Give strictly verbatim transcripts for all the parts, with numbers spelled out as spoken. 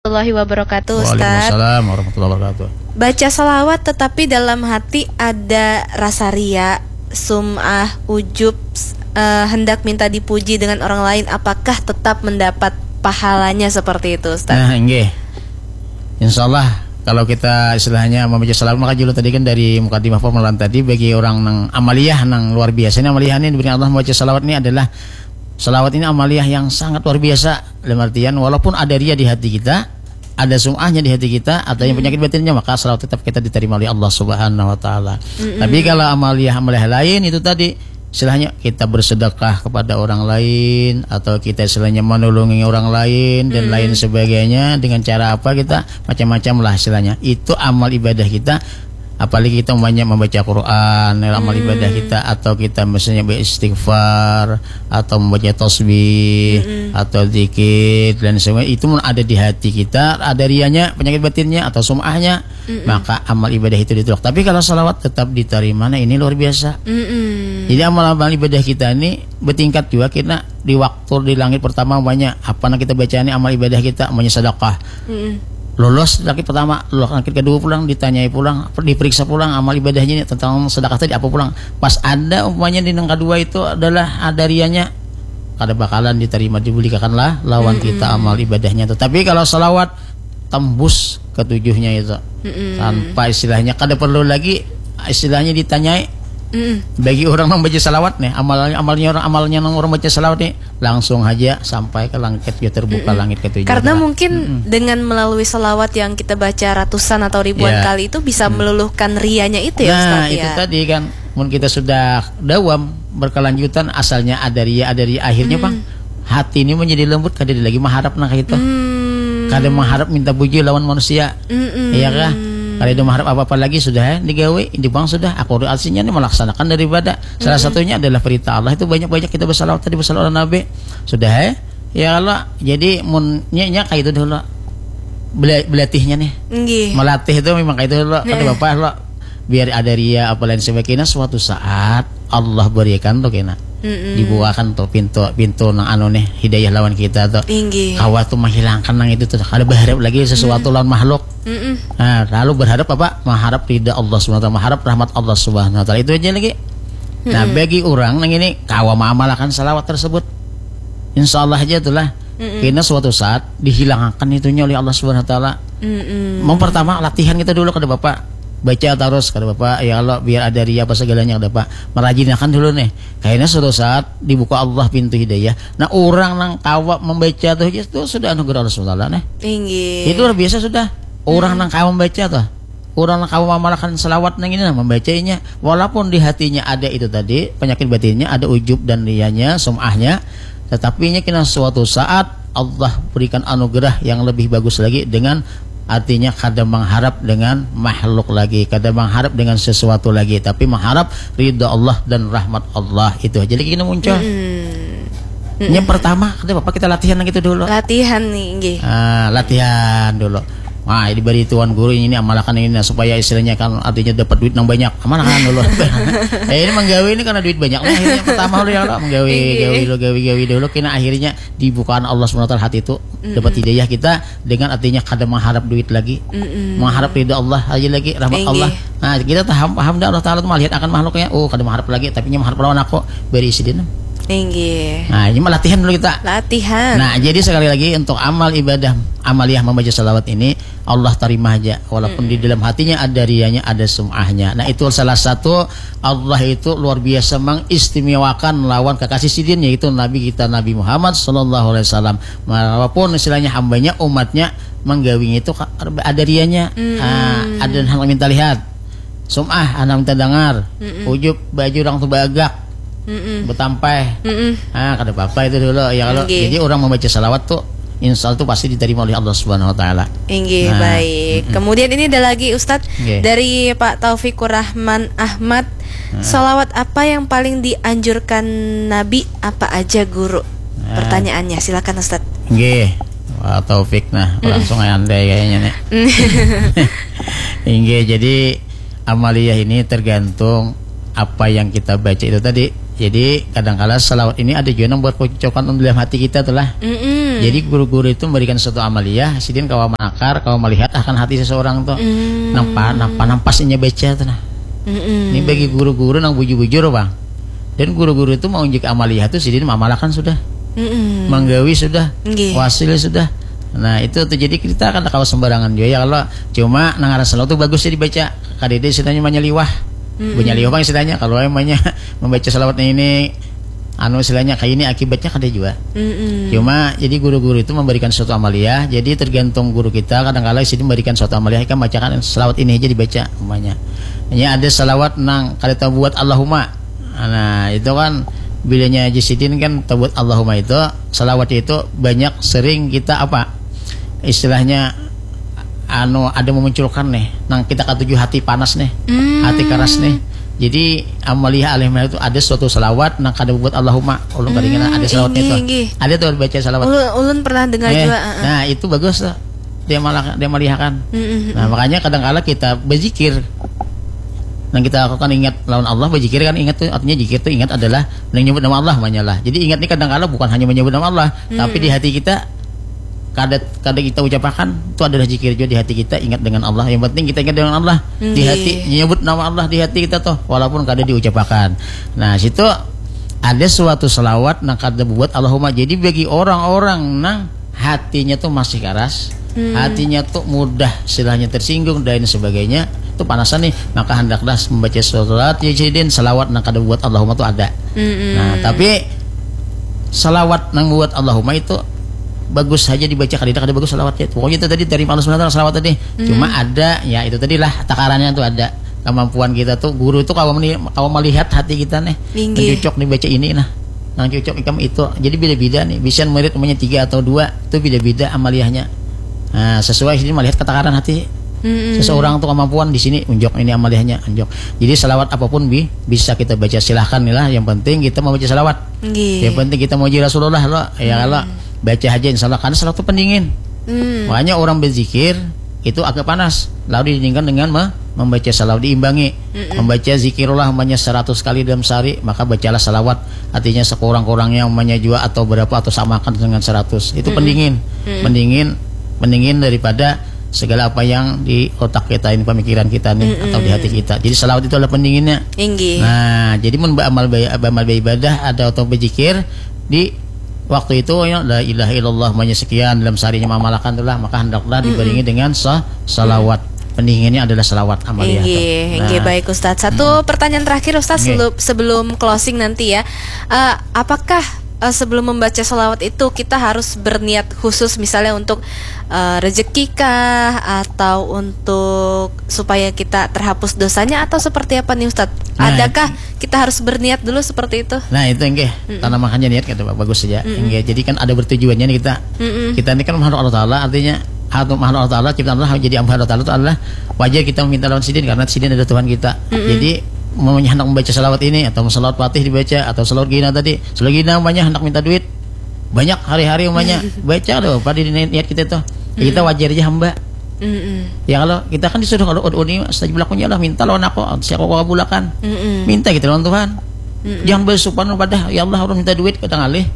Warahmatullahi wabarakatuh, Ustaz. Waalaikumsalam warahmatullahi wabarakatuh. Baca salawat tetapi dalam hati ada rasa ria, sum'ah, ujub, eh, hendak minta dipuji dengan orang lain, apakah tetap mendapat pahalanya seperti itu, Ustaz? Nah, inggih. Insyaallah, kalau kita istilahnya membaca salawat, maka julu tadi kan dari mukadimah permulaan tadi, bagi orang nang amaliyah, nang luar biasa ini, amaliyah ini diberi Allah membaca salawat ini adalah, salawat ini amaliyah yang sangat luar biasa. Dalam artian, walaupun ada ria di hati kita, ada sum'ahnya di hati kita, atau yang penyakit batinnya, maka salawat tetap kita diterima oleh Allah Subhanahu wa Ta'ala. Tapi kalau amaliyah-amaliyah lain itu tadi, istilahnya kita bersedekah kepada orang lain, atau kita istilahnya menolongi orang lain, dan lain sebagainya, dengan cara apa kita, macam-macam lah istilahnya. Itu amal ibadah kita, apalagi kita banyak membaca Quran, amal ibadah kita, atau kita misalnya beristighfar, atau membaca tasbih, atau zikir, dan sebagainya, itu pun ada di hati kita, ada rianya, penyakit batinnya, atau sum'ahnya, maka amal ibadah itu ditolak. Tapi kalau salawat tetap diterima, nah, ini luar biasa. Jadi amal-amal ibadah kita ini bertingkat juga, kita di waktu di langit pertama banyak apa, nah, kita baca ini amal ibadah kita, banyak sedekah. Lolos langit pertama, lolos langit kedua pulang, ditanyai pulang, diperiksa pulang amal ibadahnya ini tentang sedekah tadi apa pulang. Pas ada umpamanya di nang kedua itu adalah ada rianya, kada bakalan diterima, dibulikakan lah lawan kita amal ibadahnya tu. Tapi kalau salawat tembus ketujuhnya itu, tanpa istilahnya kada perlu lagi istilahnya ditanyai. Bagi orang membaca salawat nih, amalnya, amalnya orang, amalnya nang orang baca salawat nih, langsung aja sampai ke langit, ya, terbuka langit ketujuh. Karena mungkin dengan melalui salawat yang kita baca ratusan atau ribuan kali itu bisa meluluhkan rianya itu, ya, Ustaz, itu ya. Tadi kan, mun kita sudah dawam berkelanjutan, asalnya ada ria, ada ria, akhirnya, Bang, hati ini menjadi lembut, kada ada lagi mengharap nang itu. Kada mengharap minta puji lawan manusia. Iya kah? Kada ada mengharap apa-apa lagi, sudah, eh, digawe, ini, Bang, sudah, aku artinya ini melaksanakan daripada salah satunya adalah perintah Allah itu, banyak-banyak kita bersalawat tadi, bersalawat ala Nabi. Sudah, eh. Ya Allah, jadi mun nya, nya kayak itu dulu. Bela-, belatihnya nih. Nggih. Melatih itu memang kayak itu dulu. Kada apa-apa lo. Biar ada ria apa lain sebagainya, suatu saat Allah berikan tuh kena. Dibukakan tuh pintu, pintu nang anu nih, hidayah lawan kita tuh. Inggih. Kawa tuh menghilangkan nang itu tuh. Kada berharap lagi sesuatu lawan makhluk. Nah, lalu berharap apa? Mengharap ridha Allah Subhanahu wa Ta'ala, mengharap rahmat Allah Subhanahu wa Ta'ala. Itu aja lagi. Nah, bagi orang nang ini kawa mengamalkan salawat tersebut, insya Allah aja itulah. Kena suatu saat dihilangakan itunya oleh Allah Subhanahu wa Taala. Mau pertama latihan kita dulu, kada apa-apa. Baca terus, kada apa-apa. Ya Allah, biar ada ria apa segalanya, kada apa. Merajinakan dulu nih. Kayaknya suatu saat dibuka Allah pintu hidayah. Nah, orang nang kawa membaca tuh, itu sudah anugerah Allah Subhanahu wa Taala nih. Inggih. Itu luar biasa sudah. Orang nang kawa membaca tuh. Orang nang kawa mengamalkan salawat nang ini, nah, membacanya. Walaupun di hatinya ada itu tadi, penyakit batinnya, ada ujub dan rianya, sum'ahnya, tetapi nya kena suatu saat Allah berikan anugerah yang lebih bagus lagi dengan artinya kada mengharap dengan makhluk lagi, kada mengharap dengan sesuatu lagi, tapi mengharap ridha Allah dan rahmat Allah. Itu aja lagi kena muncul. Yang pertama, kada apa-apa kita latihan lagi itu dulu. Latihan nih, nggih. Ah, latihan dulu. Wah, diberi tuan guru ini amalakan ini, nah, supaya istilahnya kan artinya dapat duit nang banyak. Amalakan dulu. Eh, ini menggawe ini karena duit banyak. Nah, akhirnya pertama dulu ya, lo menggawe, gawe dulu, gawe, gawe dulu. Kena akhirnya dibukaan Allah Subhanahu wa Taala hati itu, dapat hidayah kita dengan artinya kada mengharap duit lagi, mengharap ridha Allah aja lagi, rahmat Allah. Nah, kita paham, paham dah Allah Taala tuh melihat akan makhluknya. Oh, kada mengharap lagi, tapi nya mengharap lawan aku, beri sidin. Inggih. Nah, ini mah latihan dulu kita. Latihan. Nah, jadi sekali lagi untuk amal ibadah amaliyah membaca salawat ini Allah terima aja, walaupun di dalam hatinya ada rianya, ada sum'ahnya. Nah, itu salah satu Allah itu luar biasa mengistimewakan lawan kekasih sidin, yaitu Nabi kita Nabi Muhammad sallallahu alaihi wasallam. Walaupun istilahnya hambanya, umatnya, menggawinya itu ka-, ada rianya. Ah, ada hal minta lihat. Sum'ah, anak minta dengar. Ujub, baju orang tuh bagak. Betampai. Ah, kada apa-apa itu dulu. Ya, kalau jadi orang membaca salawat tuh, insya Allah tuh pasti diterima oleh Allah Subhanahu wa Taala. Inggih, nah, baik. Kemudian ini ada lagi, Ustadz, dari Pak Taufikur Rahman Ahmad. Salawat apa yang paling dianjurkan Nabi, apa aja, Guru? Pertanyaannya, silakan, Ustadz. Nggih, Pak Taufik, nah, langsung aja andai kayaknya nih. Inggih, jadi amaliyah ini tergantung apa yang kita baca itu tadi. Jadi kadangkala salawat ini ada jua nang berkocokan dalam hati kita tuh lah. Mm-mm. Jadi guru-guru itu memberikan suatu amaliyah, sidin kawa menakar, kawa melihat akan hati seseorang tuh. Mm. Nampa, nampa, nampas inya baca tuh nah. Mm-mm. Ini bagi guru-guru nang bujur-bujur bang. Dan guru-guru itu mau unjuk amaliyah tuh sidin mamalakan sudah. Mm-mm. Manggawi sudah. Nggih. Wasil sudah. Nah itu tuh jadi kita kan kawa sembarangan juga ya kalau cuma nang ngaran salawat tuh bagus sih dibaca. Kadede istilahnya manyaliwah. Mm-mm. Manyaliwah bang istilahnya kalau emangnya membaca salawatnya ini anu istilahnya kayak ini akibatnya kada juga. Mm-mm. Cuma jadi guru-guru itu memberikan suatu amaliyah. Jadi tergantung guru kita kadang-kala sini memberikan suatu amaliyah kan bacakan salawat ini aja dibaca umpamanya. Ini ada salawat nang kada tahu buat Allahumma. Nah itu kan bilanya Haji Sidin kan tahu buat Allahumma itu salawat itu banyak sering kita apa istilahnya anu ada memunculkan nih nang kita katuju hati panas nih. Hmm. Hati keras nih. Jadi amaliyah alih itu ada suatu salawat nang kada buat Allahumma ulun karingan ada salawat itu. Ada tuh baca salawat. Ulun, ulun pernah dengar eh, juga. Uh-uh. Nah itu bagus tuh dia malah dia malihakan. Mm-mm. Nah makanya kadang-kala kita berzikir nang kita lakukan ingat lawan Allah berzikir kan ingat tuh artinya zikir tuh ingat adalah nang nyebut nama Allah banyak lah. Jadi ingat ini kadang-kala bukan hanya menyebut nama Allah, hmm. Tapi di hati kita kada kada kita ucapakan itu adalah zikir juga di hati kita ingat dengan Allah. Yang penting kita ingat dengan Allah di hati, nyebut nama Allah di hati kita tuh walaupun kada diucapakan. Nah, situ ada suatu selawat nang kada buat Allahumma. Jadi bagi orang-orang nang hatinya tuh masih keras, hmm. Hatinya tuh mudah silahnya tersinggung dan sebagainya, itu panasan nih, maka hendaklah membaca surat ya sidin selawat nang kada buat Allahumma tuh ada. Hmm. Nah, tapi salawat nang buat Allahumma itu bagus saja dibaca kada kada bagus salawatnya itu. Pokoknya itu tadi dari Allah Subhanahu wa taala salawat tadi. Hmm. Cuma ada ya itu tadi lah takarannya tuh ada kemampuan kita tuh guru tuh kalau meni- kalau melihat hati kita nih cocok dibaca ini nah nang cocok ikam itu jadi beda-beda nih bisa murid umumnya tiga atau dua itu beda-beda amaliyahnya nah, sesuai sih melihat ketakaran hati seseorang tuh kemampuan di sini unjuk ini amaliyahnya unjuk jadi salawat apapun bi bisa kita baca silahkan nih lah yang penting kita mau baca salawat. Nggih. Yang penting kita muji Rasulullah lo. Ya hmm. Kalau baca aja insya Allah karena salawat itu pendingin. Hmm. Makanya orang berzikir itu agak panas. Lalu didingkan dengan me- membaca salawat diimbangi. Mm-mm. Membaca zikirullah umpamanya seratus kali dalam sehari, maka bacalah salawat. Artinya sekurang-kurangnya umpamanya juga atau berapa atau samakan dengan seratus. Itu mm-mm. Pendingin. Mm-mm. Pendingin pendingin daripada segala apa yang di otak kita ini pemikiran kita nih mm-mm. Atau di hati kita. Jadi salawat itu adalah pendinginnya. Inggih. Nah, jadi mun beramal amal beribadah ada atau berzikir di waktu itu ya la ilaha illallah banyak sekian dalam seharinya mamalakan itulah maka hendaklah mm-mm. Dibaringi dengan sa- salawat. Mm-mm. Pendinginnya adalah salawat amaliyah. Inggih, nah. Inggih baik Ustaz. Satu mm-mm. Pertanyaan terakhir Ustaz okay. Sebelum closing nanti ya. Uh, apakah uh, sebelum membaca salawat itu kita harus berniat khusus misalnya untuk uh, rezeki kah atau untuk supaya kita terhapus dosanya atau seperti apa nih Ustadz? Nah, adakah kita harus berniat dulu seperti itu? Nah itu enggak, mm-mm. Tanam makanya niat kata bagus saja. Mm-mm. Enggak, jadi kan ada bertujuannya nih kita. Mm-mm. Kita ini kan makhluk Allah Taala, artinya atau makhluk Allah Taala, ciptaan Allah jadi hamba Allah Taala itu adalah wajar kita meminta lawan sidin karena sidin adalah Tuhan kita. Mm-mm. Jadi mau hendak membaca salawat ini atau salawat fatih dibaca atau salawat gina tadi, salawat gina banyak hendak minta duit, banyak hari-hari umanya baca ada apa di niat kita tuh. Ya, kita wajar aja hamba. Mm-mm. Ya kalau kita kan disuruh kalau ud'uni astajib lakum ya Allah minta lawan aku saya aku kabulakan. Mm-mm. Minta kita lawan Tuhan. Mm-mm. Jangan bersupan pada ya Allah orang minta duit kita ngalih.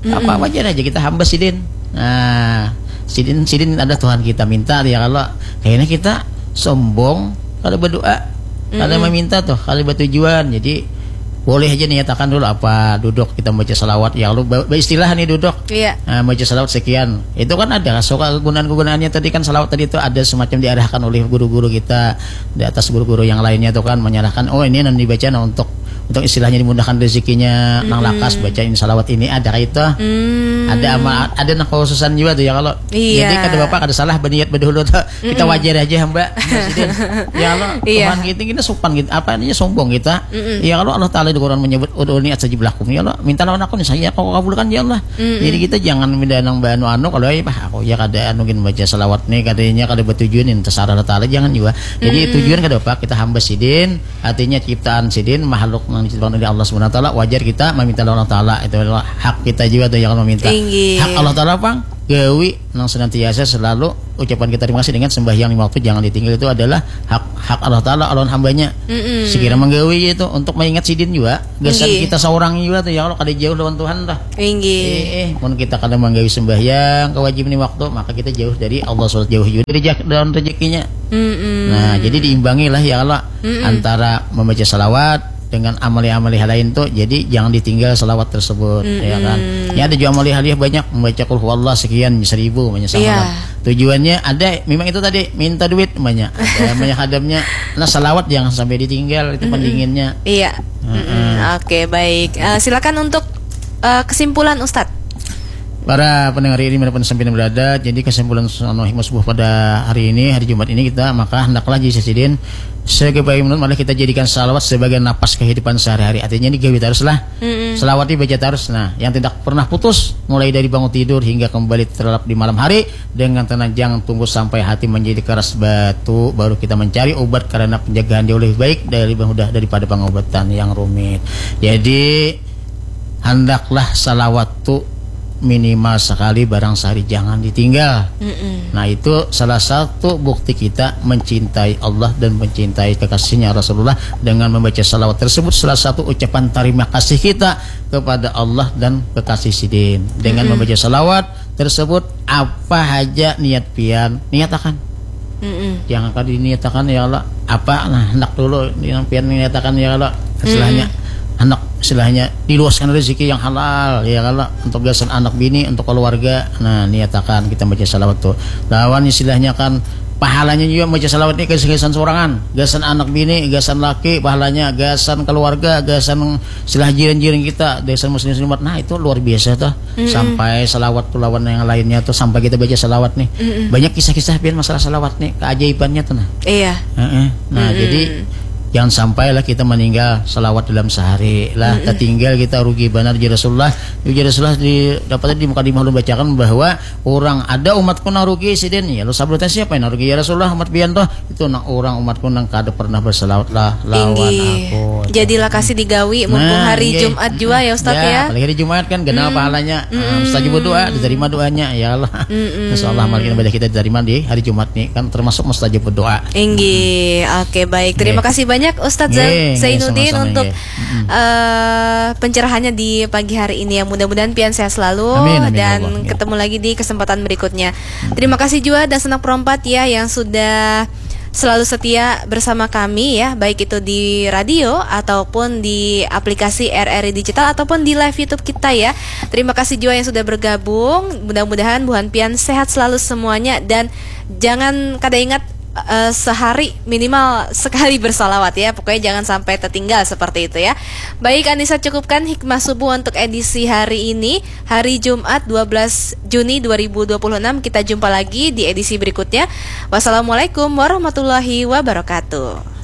Mm-mm. Apa wajar aja kita hamba sidin. Nah, sidin sidin ada Tuhan kita minta ya kalau kayaknya kita sombong kalau berdoa kalau mm-mm. Meminta tuh kalau bertujuan jadi boleh aja niatakan dulu apa duduk kita baca salawat ya lu ba- beristilah nih duduk. Iya. Nah, baca salawat sekian itu kan ada suka kegunaan kegunaannya tadi kan salawat tadi itu ada semacam diarahkan oleh guru-guru kita di atas guru-guru yang lainnya tuh kan menyerahkan oh ini nanti dibaca nah untuk untuk istilahnya dimudahkan rezekinya nang lakas bacain salawat ini ada kayak itu. Hmm. Ada ama ada nang khususan juga tuh ya kalau iya. Jadi kada bapak kada salah berniat berdahulu tuh kita wajar aja hamba sidin. Ya Allah, iya. Tuhan kita kita sopan gitu. Apa ini sombong kita? Mm-mm. Ya kalau Allah Taala di Quran menyebut ud'uni astajib lakum ya Allah. Minta lawan aku nih saya kau kabulkan ya Allah. Mm-mm. Jadi kita jangan minta nang banu anu kalau eh bah aku ya kada anu gin baca salawat nih katanya kada bertujuan ini terserah Allah Taala jangan juga. Jadi mm-mm. Tujuan kada apa kita hamba sidin artinya ciptaan sidin makhluk yang diciptakan oleh Allah Subhanahu Wa Taala wajar kita meminta lawan Allah Taala itu adalah hak kita juga tuh yang meminta. Inggih. Hak Allah Taala pang gawi nang senantiasa selalu ucapan kita terima kasih dengan sembahyang lima waktu jangan ditinggal itu adalah hak hak Allah Taala lawan hambanya. Mm-mm. Sekira menggawi itu untuk mengingat sidin juga gasan Inggih. Kita seorang juga tuh ya Allah kada jauh lawan Tuhan dah. Inggih. Eh, eh, mun kita kada menggawi sembahyang kewajiban lima waktu maka kita jauh dari Allah subhanahu jauh juga dari jak- dalam rezekinya. Mm-mm. Nah, jadi diimbangi lah ya Allah Mm-mm. antara membaca salawat dengan amali-amali lain tuh. Jadi jangan ditinggal salawat tersebut, ya kan? Mm-mm. Ya ada juga amali haliah banyak membaca kul huwallah sekian seribu banyak sama Iya. lah. Tujuannya ada memang itu tadi minta duit banyak. Ada banyak hadamnya. Nah, salawat jangan sampai ditinggal itu pendinginnya. Iya. Heeh. Mm-mm. Oke, baik. Eh, silakan untuk eh, kesimpulan Ustadz. Para pendengar ini dimanapun sampai berada, jadi kesimpulan anu hikmah subuh pada hari ini, hari Jumat ini kita maka hendaklah jadi sidin sebagai menurut malah kita jadikan salawat sebagai napas kehidupan sehari-hari. Artinya ini gawi terus lah. Mm-mm. Salawat dibaca terus. Nah, yang tidak pernah putus mulai dari bangun tidur hingga kembali terlelap di malam hari dengan tenang jangan tunggu sampai hati menjadi keras batu baru kita mencari obat karena penjagaan jauh lebih baik dari mudah daripada pengobatan yang rumit. Jadi hendaklah salawat tu minimal sekali barang sehari jangan ditinggal. Mm-mm. Nah, itu salah satu bukti kita mencintai Allah dan mencintai kekasihnya Rasulullah dengan membaca salawat tersebut salah satu ucapan terima kasih kita kepada Allah dan kekasih sidin. Dengan Mm-mm. Membaca salawat tersebut apa aja niat pian niatakan. Mm-mm. Jangan kada diniatakan ya Allah apa nah hendak dulu yang pian niatakan ya Allah istilahnya anak istilahnya diluaskan rezeki yang halal ya Allah untuk gasan anak bini untuk keluarga. Nah, niatakan kita baca salawat tuh lawan istilahnya kan pahalanya juga baca salawat ini gasan-gasan sorangan, gasan anak bini, gasan laki, pahalanya gasan keluarga, gasan istilah jiran-jiran kita, gasan muslim muslimat. Nah, itu luar biasa tuh. Mm-mm. Sampai salawat tuh lawan yang lainnya tuh sampai kita baca salawat nih. Mm-mm. Banyak kisah-kisah pian masalah salawat nih, keajaibannya tuh nah. Iya. Heeh. Nah, Mm-mm. jadi jangan sampai lah kita meninggal salawat dalam sehari lah. Mm-mm. Tertinggal kita rugi benar. Jadi Rasulullah, jadi Rasulullah di dapat di muka di ulun bacakan bahwa orang ada umatku nang rugi sidin. Ya lu sabutnya siapa yang rugi ya Rasulullah umat pian tuh? Itu nang orang umatku nang kada pernah bersalawat lah lawan Inggih. Aku. Jadilah kasih digawi mumpung Nah, hari inggih. Jumat jua ya Ustaz ya. Apalagi hari Jumat kan kenal Hmm. pahalanya. Hmm. Mustajab doa, diterima doanya ya Allah. Mm-mm. Insya Allah amal ibadah kita diterima di hari Jumat nih kan termasuk mustajab doa. Inggih, oke baik. Terima Nggih. kasih banyak Ustadz Nggih, nggih, Zainuddin sama-sama, untuk nggih. Mm-mm. eh, pencerahannya di pagi hari ini ya. Mudah-mudahan pian sehat selalu Amin, amin, ya dan Allah, nggih. Ketemu lagi di kesempatan berikutnya. Terima kasih juga dan senang perompat ya yang sudah selalu setia bersama kami ya, baik itu di radio ataupun di aplikasi R R I Digital ataupun di live YouTube kita ya. Terima kasih juga yang sudah bergabung. Mudah-mudahan buhan pian sehat selalu semuanya dan jangan kada ingat eh, sehari minimal sekali bersalawat ya. Pokoknya jangan sampai tertinggal seperti itu ya. Baik Anissa, cukupkan hikmah subuh untuk edisi hari ini, hari Jumat dua belas Juni dua ribu dua puluh enam. Kita jumpa lagi di edisi berikutnya. Wassalamualaikum warahmatullahi wabarakatuh.